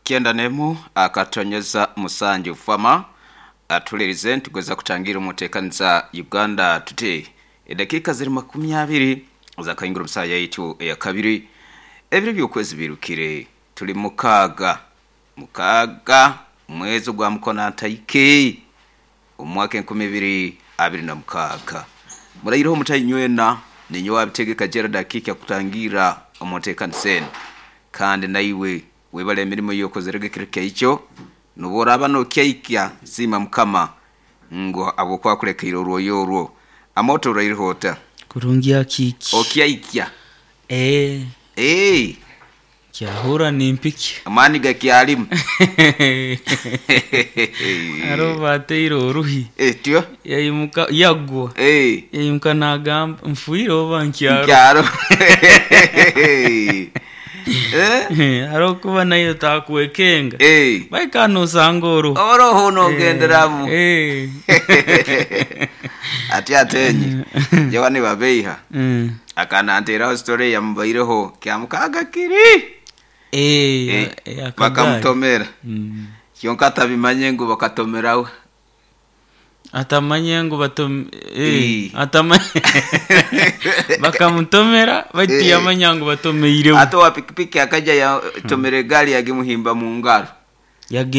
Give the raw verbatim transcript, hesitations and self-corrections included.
Kyenda nemu akatonyeza musanju fama atulirize ntugweza kutangira omuteekaniza Uganda Today. Edakiika ziri makumi abiri zakaingura omusaha yaitu eyakabiri. Ebiro by'okwezi birukire, tuli mukaaga mukaaga mwezi ogwa mukona ntaike omwaka enkumi ibiri abiri na mukaaga. Muraireho mutainywena, ninyowe abitegeka Gerald Akiiki akutangira omunteekaniza enu. Kandi naiwe webale emirimo eyokozerege ekiro kyaikyo, nobu oraaba nokyaikya siima Mukama ngu habwokuba akulekeire orwoya orwo. Amoto oraireho ota? Kurungi Akiiki. Okyaikya? Ee. Ee. Kyahura nimpikya. Amaani gakyalimu. Haroho bateire oruhi. Etyo? Yaimuka yagwa. Ee. Yaimuka nagamba nfiire oba nkyaro. Nkyaro. Eh? Haroho kuba nayo takwekenga. Eh. Baika nosanga oruho. Oroho nogenderamu. Eh. Ati atenyi. Jawa nibabeiha. Mm. Akananteraho story yamubaireho kyamukaga kiri. Eh, Eh, eh, akagari. bakamutomera. Mm. Kyonka atabimanye ngu bakatomerawe. Atamanye ngu batom eh, Eh. atamanye bakamutomera baitu Eh. yamanya ngu batomeireho. Ate owa pikipiki akaja yatomera egaari yagimuhimba mu ngaro. Yage